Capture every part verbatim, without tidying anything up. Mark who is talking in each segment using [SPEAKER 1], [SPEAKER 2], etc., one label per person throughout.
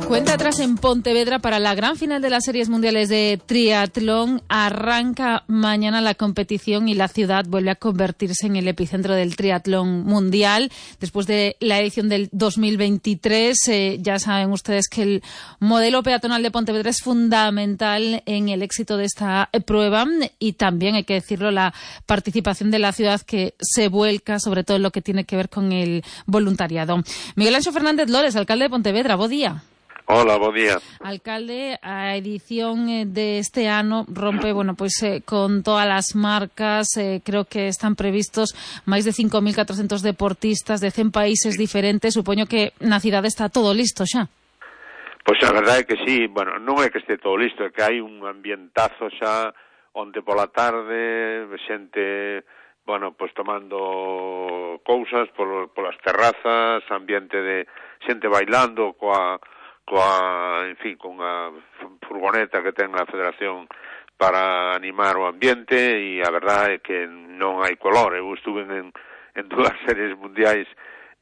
[SPEAKER 1] Cuenta atrás en Pontevedra para la gran final de las series mundiales de triatlón. Arranca mañana la competición y la ciudad vuelve a convertirse en el epicentro del triatlón mundial. Después de la edición del dos mil veintitrés, eh, ya saben ustedes que el modelo peatonal de Pontevedra es fundamental en el éxito de esta prueba, y también, hay que decirlo, la participación de la ciudad, que se vuelca sobre todo en lo que tiene que ver con el voluntariado. Miguel Anxo Fernández Lores, alcalde de Pontevedra, bo día.
[SPEAKER 2] Hola, bo día.
[SPEAKER 1] Alcalde, a edición de este ano rompe, bueno, pues eh, con todas as marcas, eh, creo que están previstos máis de cinco mil catrocentos deportistas de cen países diferentes. Supoño que na cidade está todo listo xa.
[SPEAKER 2] Pois a verdade é que sí, bueno, non é que este todo listo, é que hai un ambientazo xa onde pola tarde, xente, bueno, pois tomando cousas por, polas terrazas, ambiente de xente bailando coa coa, en fin, con a furgoneta que ten a Federación para animar o ambiente, e a verdade é que non hai color. Eu estuve en, en dúas series mundiais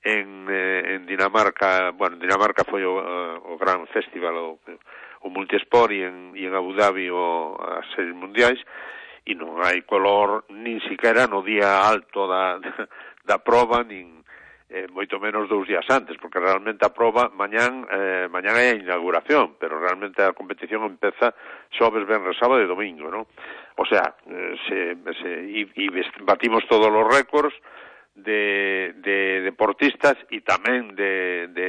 [SPEAKER 2] en, eh, en Dinamarca. Bueno, en Dinamarca foi o, o gran festival, o, o Multisport, e en, e en Abu Dhabi o, as series mundiais, e non hai color nin siquiera no día alto da, da, da prova, nin Eh, moito menos dous días antes, porque realmente a proba mañán, eh, mañán é a inauguración, pero realmente a competición empeza xoves, venres, sábado e domingo, ¿no? O sea, eh, se, se, y, y batimos todos os récords de, de deportistas e tamén de, de,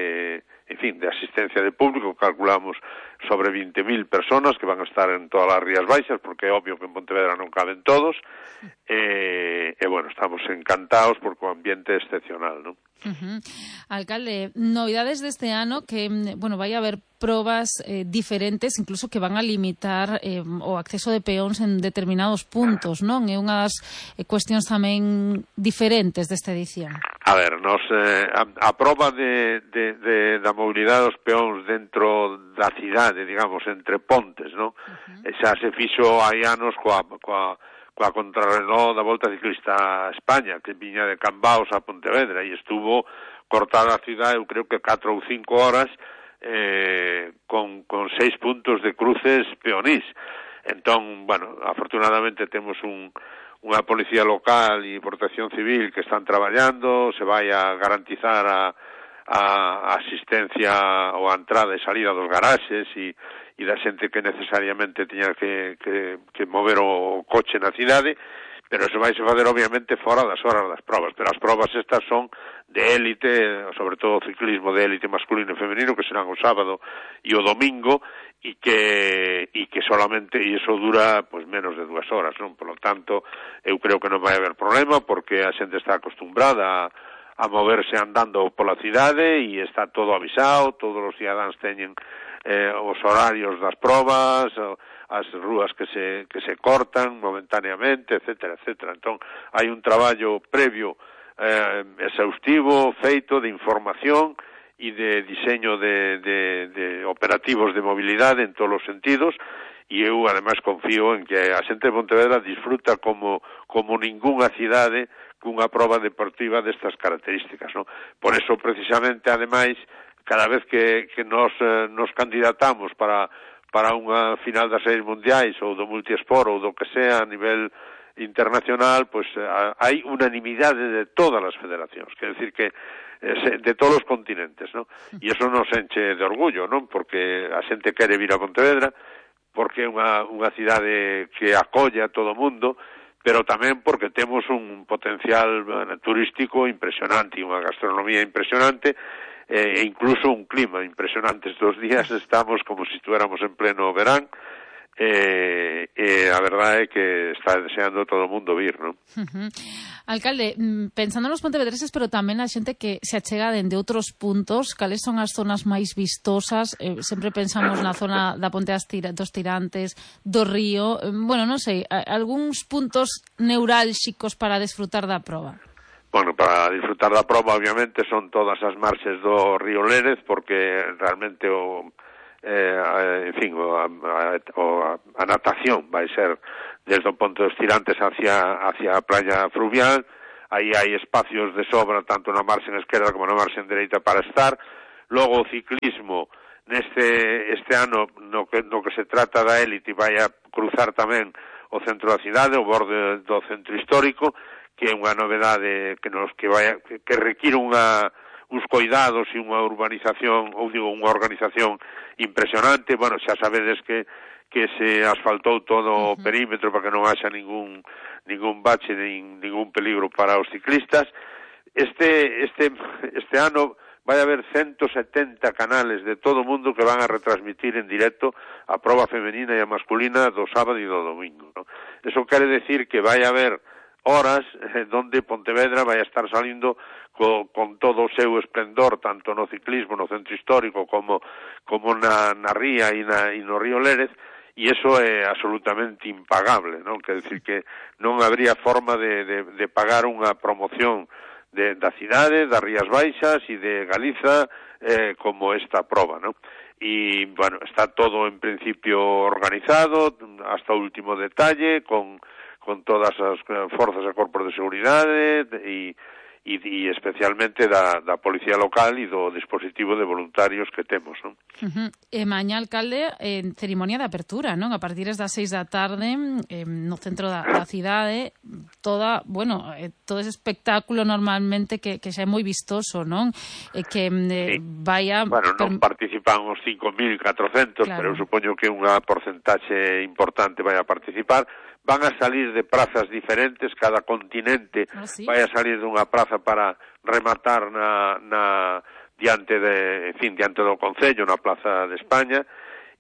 [SPEAKER 2] en fin, de asistencia de público. Calculamos sobre veinte mil personas que van a estar en todas as Rías Baixas, porque é obvio que en Pontevedra non caben todos, e, e bueno, estamos encantados porque o ambiente é excepcional, ¿no?
[SPEAKER 1] Uh-huh. Alcalde, novidades deste ano, que, bueno, vai haber probas eh, diferentes, incluso que van a limitar eh, o acceso de peóns en determinados puntos, non? É unhas eh, cuestións tamén diferentes desta edición.
[SPEAKER 2] A ver, nos, eh, a, a proba de, de, de, da mobilidade dos peóns dentro da cidade, digamos, entre pontes, non? Uh-huh. Xa se fixo hai anos coa, coa coa contrarreloj da Volta Ciclista a España, que viña de Cambaos a Pontevedra, e estuvo cortada a cidade, eu creo que catro ou cinco horas, eh, con, con seis puntos de cruces peonís. Entón, bueno, afortunadamente temos un, unha policía local e protección civil que están traballando, se vai a garantizar a, a asistencia ou a entrada e salida dos garaxes e e da xente que necesariamente tiña que, que, que mover o coche na cidade, pero eso vai se fazer obviamente fora das horas das probas. Pero as probas estas son de élite, sobre todo o ciclismo de élite masculino e femenino, que serán o sábado e o domingo, e que e que solamente, e iso dura pues menos de dúas horas, non? Por lo tanto, eu creo que non vai haber problema, porque a xente está acostumbrada a a moverse andando pola cidade e está todo avisado, todos os cidadáns teñen eh, os horarios das probas, as rúas que se que se cortan momentaneamente, etcétera, etcétera. Entón, hai un traballo previo eh, exhaustivo, feito de información e de diseño de, de, de operativos de mobilidade en todos os sentidos, e eu, ademais, confío en que a xente de Pontevedra disfruta como, como ningunha cidade cunha proba deportiva destas características, ¿no? Por eso, precisamente, ademais, cada vez que, que nos, eh, nos candidatamos para, para unha final das series mundiais ou do multiesport ou do que sea a nivel internacional, pues eh, hai unanimidade de todas as federacións, quer decir que eh, de todos os continentes, ¿no? E eso nos enche de orgullo, ¿no? Porque a xente quere vir a Pontevedra, porque é unha, unha cidade que acolle a todo o mundo, pero tamén porque temos un potencial bueno, turístico impresionante, unha gastronomía impresionante, e incluso un clima impresionante. Estos días estamos como se estuéramos en pleno verán, e, e a verdade é que está deseando todo o mundo vir, non?
[SPEAKER 1] Uh-huh. Alcalde, pensando nos pontevedreses, pero tamén a xente que se achega dende outros puntos, cales son as zonas máis vistosas? Eh, sempre pensamos na zona da Ponte dos Tirantes, do Río, eh, bueno, non sei, algúns puntos neurálxicos para desfrutar da proba.
[SPEAKER 2] Bueno, para disfrutar da proba, obviamente, son todas as marxes do Río Lérez, porque realmente o eh, en fin, o, a, a, a natación vai ser desde o Ponte dos Tirantes hacia, hacia a playa fluvial. Aí hai espacios de sobra tanto na marxen esquerda como na marxen dereita para estar. Logo o ciclismo neste este ano no que, no que se trata da élite vai a cruzar tamén o centro da cidade, o borde do centro histórico, que é unha novedade que nos que vai que, que require unha uns cuidados e unha urbanización, ou digo, unha organización impresionante. Bueno, xa sabedes que que se asfaltou todo o perímetro para que non haxa ningún ningún bache, nin, ningún peligro para os ciclistas. Este este este ano vai haber ciento setenta canales de todo o mundo que van a retransmitir en directo a proba femenina e a masculina do sábado e do domingo, ¿no? Eso quere decir que vai haber horas eh, donde Pontevedra vai a estar salindo co, con todo o seu esplendor, tanto no ciclismo, no centro histórico, como como na, na ría e, na, e no río Lérez, e iso é absolutamente impagable, non? Quer decir que non habría forma de, de, de pagar unha promoción de, da cidade, das Rías Baixas e de Galiza eh, como esta proba, ¿no? E, bueno, está todo en principio organizado hasta o último detalle, con, con todas as forzas e corpos de seguridade e, e, e especialmente da, da policía local e do dispositivo de voluntarios que temos, non?
[SPEAKER 1] Uh-huh. E mañá, alcalde, en ceremonia de apertura, non? A partir das seis da tarde, eh, no centro da, da cidade, toda, bueno, eh, todo ese espectáculo normalmente que, que xa é moi vistoso, non? E que eh, sí. vaya...
[SPEAKER 2] Bueno, non per... participan os cinco mil catrocentos, claro. Pero eu supoño que unha porcentaxe importante vai a participar. Van a salir de prazas diferentes, cada continente ah, ¿sí? vai a salir dunha praza para rematar na, na diante de, en fin, diante do Concello, na Plaza de España,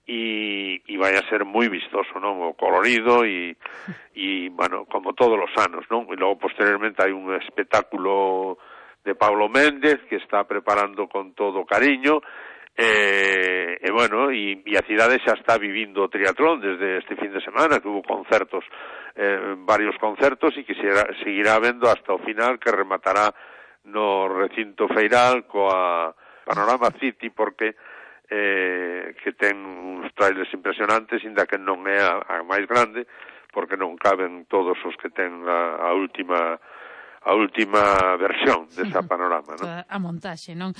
[SPEAKER 2] e, e vai a ser moi vistoso, non? O colorido e, e, bueno, como todos os anos, non? E logo, posteriormente, hai un espectáculo de Paulo Méndez que está preparando con todo cariño. E, e bueno, e, e a cidade xa está vivindo o triatlón desde este fin de semana, que hubo concertos, eh, varios concertos, e que será, seguirá vendo hasta o final, que rematará no recinto feiral coa Panorama City, porque eh, que ten uns trailers impresionantes, inda que non é a, a máis grande, porque non caben todos os que ten a, a última a última versión desa panorama, non?
[SPEAKER 1] A montaxe, non?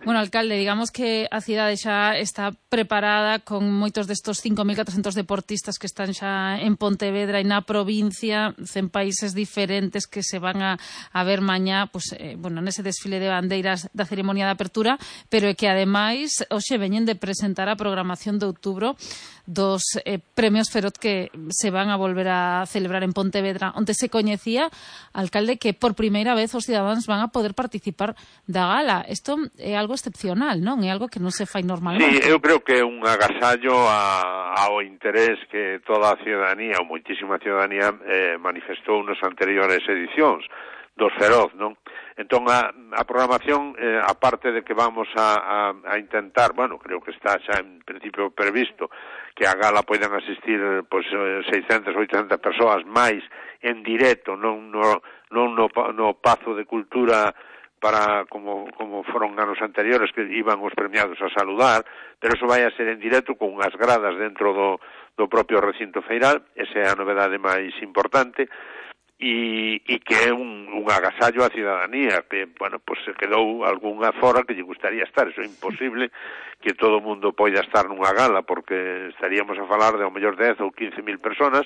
[SPEAKER 1] Bueno, alcalde, digamos que a cidade xa está preparada con moitos destos cinco mil catrocentos deportistas que están xa en Pontevedra e na provincia, en países diferentes que se van a, a ver mañá, pues, eh, bueno, nese desfile de bandeiras da ceremonia de apertura, pero é que ademais hoxe veñen de presentar a programación de outubro dos eh, premios Feroz que se van a volver a celebrar en Pontevedra, onde se coñecía, alcalde, que por primeira vez os cidadáns van a poder participar da gala. Isto é algo excepcional, non? É algo que non se fai normalmente.
[SPEAKER 2] Sí, eu creo que é un agasallo a, ao interés que toda a ciudadanía, ou moitísima ciudadanía, eh, manifestou nas anteriores edicións dos Feroz, non? Entón, a, a programación, eh, aparte de que vamos a, a, a intentar, bueno, creo que está xa en principio previsto, que a gala poidan asistir pois, seiscentas, oitocentas persoas máis en directo, non no, non no, no Pazo de Cultura para como, como foron anos anteriores que iban os premiados a saludar, pero eso vai a ser en directo con unhas gradas dentro do, do propio recinto feiral. Esa é a novedade máis importante. E, e que é un, un agasallo á ciudadanía que, bueno, pues se quedou algunha fora que lle gustaría estar. Eso é imposible que todo o mundo poida estar nunha gala, porque estaríamos a falar de ao mellor dez ou quince mil personas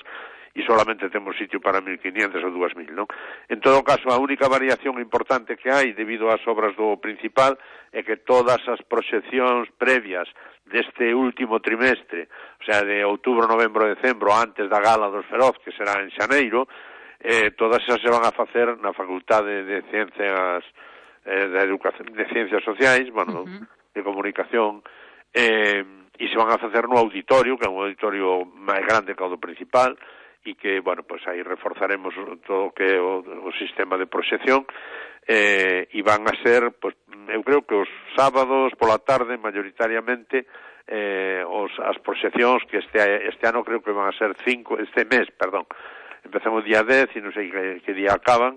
[SPEAKER 2] e solamente temos sitio para mil quinientas ou dúas mil, non? En todo caso, a única variación importante que hai debido ás obras do principal é que todas as proxeccións previas deste último trimestre, o sea, de outubro, novembro, decembro, antes da gala dos Feroz, que será en xaneiro, Eh, todas esas se van a facer na Facultade de Ciencias eh, de Educación, de Ciencias Sociais, bueno, uh-huh. de Comunicación, eh, e se van a facer no auditorio, que é un auditorio máis grande que o do principal, e que, bueno, pues aí reforzaremos todo o que é o, o sistema de proxección, eh, e van a ser, pues, eu creo que os sábados pola tarde, mayoritariamente, eh, os, as proxeccións que este, este ano creo que van a ser cinco, este mes, perdón, empezamos día dez e non sei que, que día acaban,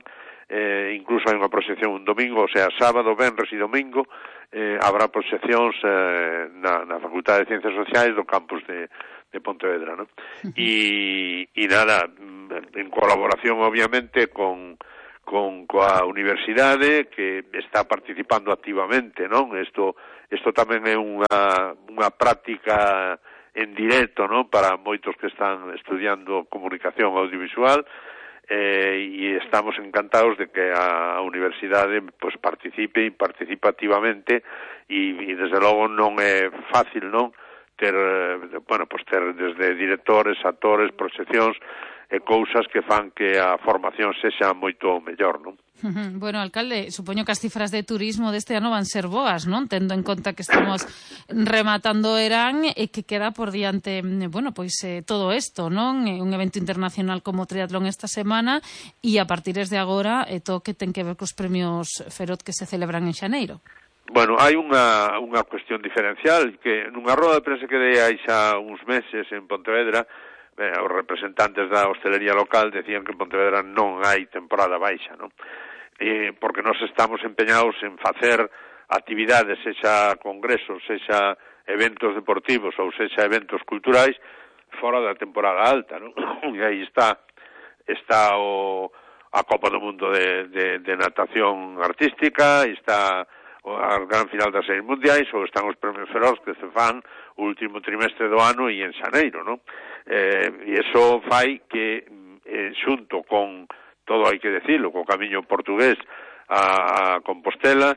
[SPEAKER 2] eh, incluso hai unha proxección un domingo, o sea, sábado, venres e domingo eh, habrá proxeccións eh, na, na Facultade de Ciencias Sociais do campus de, de Pontevedra, ¿no? E, e nada, en colaboración obviamente con con coa universidade que está participando activamente, non? Isto isto tamén é unha unha práctica en directo, non? Para moitos que están estudiando comunicación audiovisual, eh, e estamos encantados de que a universidade pues participe e participa activamente e, e desde logo non é fácil, non? Ter, bueno, pues ter desde directores, actores, proxeccións e cousas que fan que a formación sexa moito mellor, non?
[SPEAKER 1] Bueno, alcalde, supoño que as cifras de turismo deste ano van ser boas, non? Tendo en conta que estamos rematando Erán e que queda por diante, bueno, pois eh, todo isto, non? Un evento internacional como Triatlón esta semana e a partir de agora eh, todo que ten que ver cos premios Feroz que se celebran en xaneiro.
[SPEAKER 2] Bueno, hai unha, unha cuestión diferencial que nunha roda de prensa que dei hai xa uns meses en Pontevedra, eh, os representantes da hostelería local decían que en Pontevedra non hai temporada baixa, non? Eh, porque nós estamos empeñados en facer actividades, sexa congresos, sexa eventos deportivos ou sexa eventos culturais fora da temporada alta, non? E aí está está o, a Copa do Mundo de, de, de natación artística, está a gran final das series mundiais, ou están os premios Feroz que se fan o último trimestre do ano e en xaneiro, non? Eh, e iso fai que, eh, xunto con todo hai que decirlo, co camiño portugués a, a Compostela,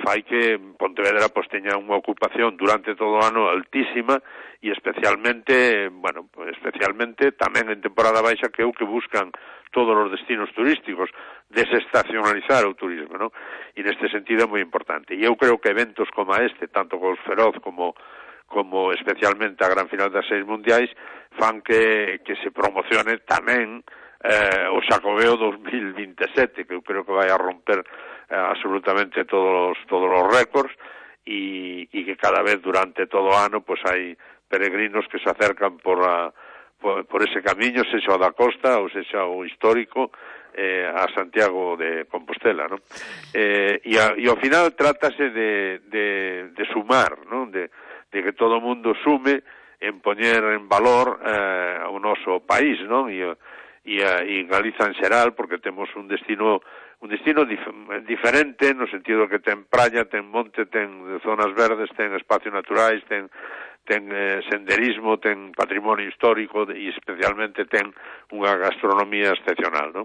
[SPEAKER 2] fai que Pontevedra pues, teña unha ocupación durante todo o ano altísima e especialmente, bueno, especialmente tamén en temporada baixa que é o que buscan todos os destinos turísticos, desestacionalizar o turismo, ¿no? E neste sentido é moi importante. E eu creo que eventos como este, tanto cos Feroz como como especialmente a gran final das seis mundiais, fan que, que se promocione tamén Eh, o Xacobeo dos mil veintisiete, que eu creo que vai a romper eh, absolutamente todos, todos os récords e, e que cada vez durante todo o ano pues hai peregrinos que se acercan por, a, por, por ese camiño, sexa o da costa ou sexa o histórico eh, a Santiago de Compostela, ¿no? Eh, e, a, e ao final trátase de, de, de sumar, ¿no? De, de que todo o mundo sume en poñer en valor eh, o noso país, ¿no? E e en Galiza en xeral, porque temos un destino un destino dif diferente no sentido que ten praia, ten monte, ten zonas verdes, ten espacios naturais, ten ten eh, senderismo, ten patrimonio histórico e especialmente ten unha gastronomía excepcional, ¿no?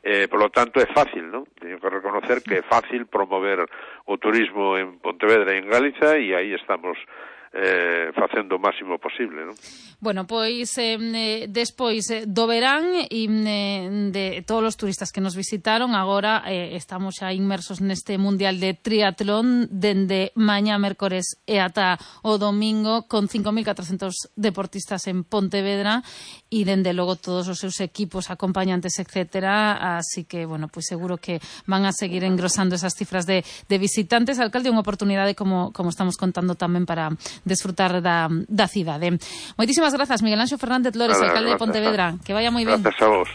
[SPEAKER 2] Eh, por lo tanto é fácil, ¿no? Teño que reconocer que é fácil promover o turismo en Pontevedra e en Galiza e aí estamos eh, facendo o máximo posible, non?
[SPEAKER 1] Bueno, pois eh, despois eh, do verán e eh, de todos os turistas que nos visitaron, agora eh, estamos xa inmersos neste Mundial de Triatlón dende mañá mércores e ata o domingo con cinco mil catrocentos deportistas en Pontevedra e dende logo todos os seus equipos, acompañantes, etcétera, así que, bueno, pois seguro que van a seguir engrosando esas cifras de, de visitantes. Alcalde, unha oportunidade como, como estamos contando tamén para desfrutar da, da cidade. Moitísimas grazas, Miguel Anxo Fernández Lores,
[SPEAKER 2] Nada,
[SPEAKER 1] alcalde de Pontevedra. Que vaya moi ben.
[SPEAKER 2] Grazas a vos.